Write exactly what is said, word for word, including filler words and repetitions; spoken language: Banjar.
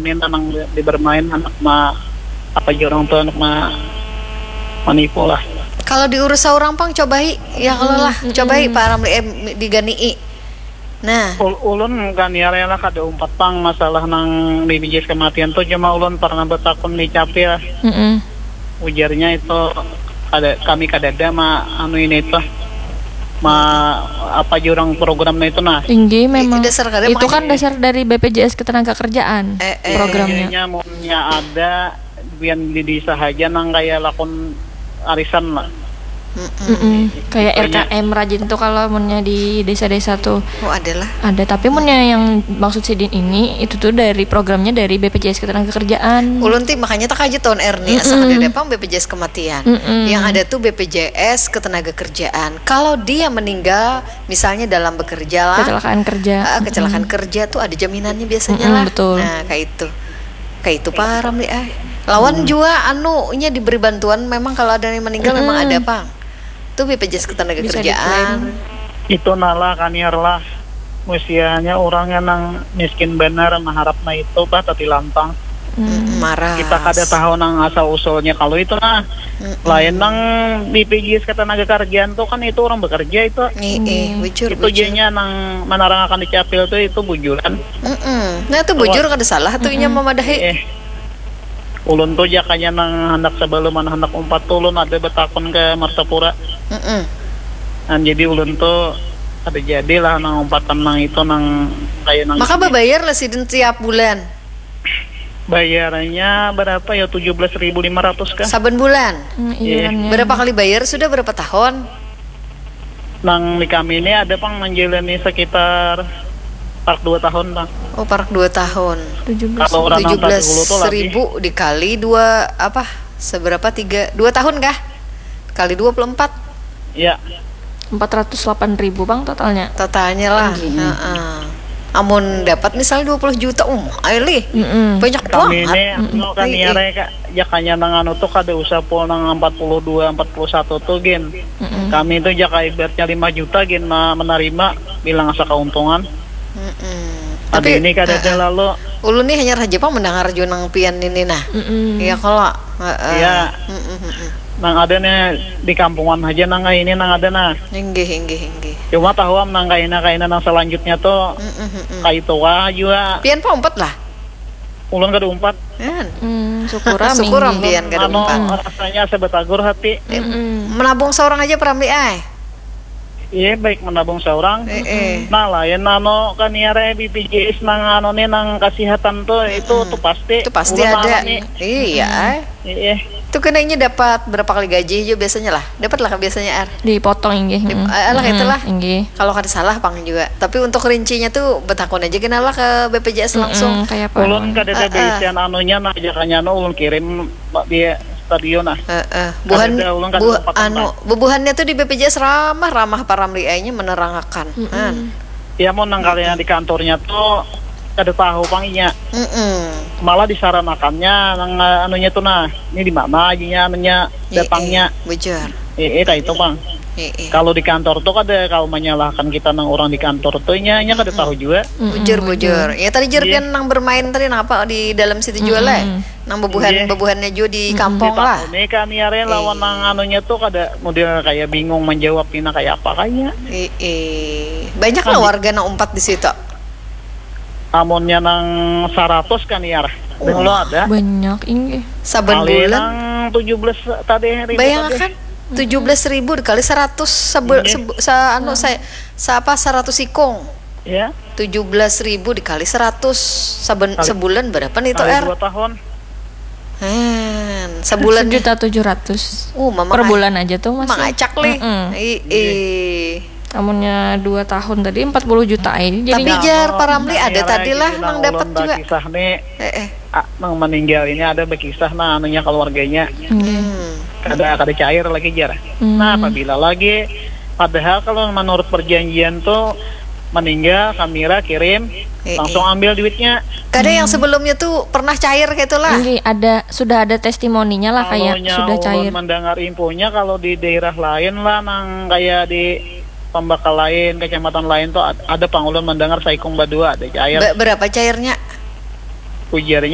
Ini tanang di bermain anak ma apa jurang tu anak ma manipu lah. Kalau diurus seorang pang cobai ya kalau lah cobai Pak Ramli eh diganii. Nah, Ul ulun kan ya rela kada umpat pang masalah nang B P J S kematian tu cuma ulun pernah betakun di capil. Mm -mm. Ujarnya itu ada kami kadada ma anu ini itu ma apa jurang program itu nah. Tinggi memang. Dasar kada itu kan dasar dari B P J S ketenaga kerjaan eh, eh, programnya. Iya, iya, ada bian di desa haja nang kaya lakon arisan lah. Mm-mm. Kayak R K M rajin tuh kalau munnya di desa-desa tuh. Oh, adalah. Ada, tapi munnya yang maksud sidin ini itu tuh dari programnya dari B P J S Ketenagakerjaan. Ulun ti makanya tak aja tahun R nih, asa ada pang B P J S kematian. Mm-mm. Yang ada tuh B P J S Ketenagakerjaan. Kalau dia meninggal misalnya dalam bekerja lah. Kecelakaan kerja. Uh, kecelakaan mm-hmm. kerja tuh ada jaminannya biasanya mm-hmm, lah. Betul. Nah, kayak itu. Kayak itu paham nih ah. Lawan hmm. jua anu nya diberi bantuan memang kalau ada yang meninggal mm -hmm. memang ada pang. Tuh B P J S ketenaga kerjaan. Itu nala kaniar lah. Musianya orang yang nang miskin benar mengharap na itu bah tapi lantang. Hmm. Marah. Kita kada tahu nang asal usulnya kalau itu nah. Hmm. Lain nang B P J S ketenaga kerjaan tuh kan itu orang bekerja itu. Iya, hmm. bujur. Itu bujur. Jadinya nang menarangakan di capil tuh itu bujuran. Mm-mm. Nah itu bujur kada salah tuh inya mamadahi. Eh, ulun tuh jakanya nang handak sebelum anak handak umpat tuh ulun ada betakun ke Martapura. Mm-mm. Nah, jadi ulun tuh ada jadilah nang umpatan nang itu nang kayak nang. Maka bebayar lah sidin tiap bulan. Bayarannya berapa ya tujuh belas ribu lima ratus kah? Saben bulan. Hmm, iya. Berapa kali bayar sudah berapa tahun? Nang di kami ini ada pang manjalani sekitar parak dua tahun pang. Oh parak dua tahun. Tujuh belas. Kalau orang tujuh belas ribu dikali dua apa? Seberapa tiga? Dua tahun kah? Kali dua puluh empat. Ya. Empat ratus delapan ribu bang totalnya. Totalnya lah. Heeh. Amun dapat misal dua puluh juta um ayo lih mm -mm. banyak banget. Kami ini anu kan iya rek jakanya nang anu tuh kada usah pol nang empat puluh dua empat puluh satu tuh gin. Mm -mm. Kami itu jaka ibaratnya lima juta gin menerima bilang asa keuntungan. Mm -mm. Tapi ini kada uh, ada lalu. Ulun nih hanya raja pang mendengar jua nang pian ini nah. Mm -mm. Iya kalau. Uh, uh. Iya. Mm -mm. Nang ada nih di kampungan aja nang kayak ini nang ada nah. Inggih inggih inggih. Cuma tahu am nang kayak ini kayak ini nang selanjutnya tuh mm -mm. kayak itu wah juga. Pian pang empat lah. Ulun kada umpat. Kan. Hmm, syukur am. Syukur am pian kada umpat. Anu, rasanya asa betagur hati. Mm -mm. Menabung seorang aja peramli ay. Iya baik menabung seorang. Eh, eh. Nah lain anu kan ya re B P J S nang anu nih nang kesehatan tuh itu mm -mm. tuh pasti. Itu pasti ada. Iya. Mm -mm. Iya. Itu kena ini dapat berapa kali gaji juga biasanya lah. Dapat lah biasanya ar. Dipotong inggih. Dip, mm. Alah mm -mm. itulah. Inggih. Kalau kada salah pang juga. Tapi untuk rincinya tuh betakun aja kena lah ke B P J S langsung. Mm -mm, kayak apa? Ulun kada ada uh, uh. Baisian anunya nah jakannya anu ulun kirim di stadion nah. Uh, uh. Buhan, kada ada ulun kada buh, anu, bubuhannya tuh di B P J S ramah ramah paramli nya menerangakan. Mm -mm. Kan. Ya mau nang kalian di kantornya tuh kada tahu pang inya. Mm-mm. Malah disaranakannya nang eh, anunya tuh nah, ini di mana ajinya anunya datangnya. Bujur. Eh, eh, itu pang. Eh, eh. Kalau di kantor tuh kada kalau menyalahkan kita nang orang di kantor tuh inya inya kada tahu juga. Bujur, bujur. Ya tadi jur pian nang bermain tadi nang apa di dalam situ juga lah. Nang bebuhan bebuhannya juga di kampung lah. Ini kami are lawan nang anunya tuh kada model kayak bingung menjawab pina kayak apa kayaknya. Eh, eh. Banyak lah warga nang umpat di situ. Amunnya nang saratus kan ya. Dahulu ada. Banyak inggih. Saban Kali bulan. Nang tujuh belas tadi ribu. Bayangkan tujuh belas ribu dikali seratus sebul, sebul sa, anu saya sa apa seratus ikung. Ya. Tujuh belas ribu dikali seratus saban Kali. Sebulan berapa nih itu Kali R? Dua tahun. Hen, sebulan sejuta tujuh ratus. Uh, mama per bulan aja tuh masih. Mangacak lih. Mm -mm. I, i. Amunnya dua tahun tadi empat puluh juta ini jadi. Tapi jar paramli ada tadi lah nang dapat juga. Kisah nih. Eh, eh. Ah, nang meninggal ini ada berkisah nah anunya keluarganya. Hmm. Kada kada cair lagi jar. Hmm. Nah, apabila lagi padahal kalau menurut perjanjian tuh meninggal kamera kirim eh, langsung eh. Ambil duitnya. Kada hmm. Yang sebelumnya tuh pernah cair gitu lah. Ini ada sudah ada testimoninya lah kayak sudah cair. Mendengar infonya kalau di daerah lain lah nang kayak di pembakal lain, kecamatan lain tuh ada pangulun mendengar saikung badua ada cair. Be berapa cairnya? Ujarnya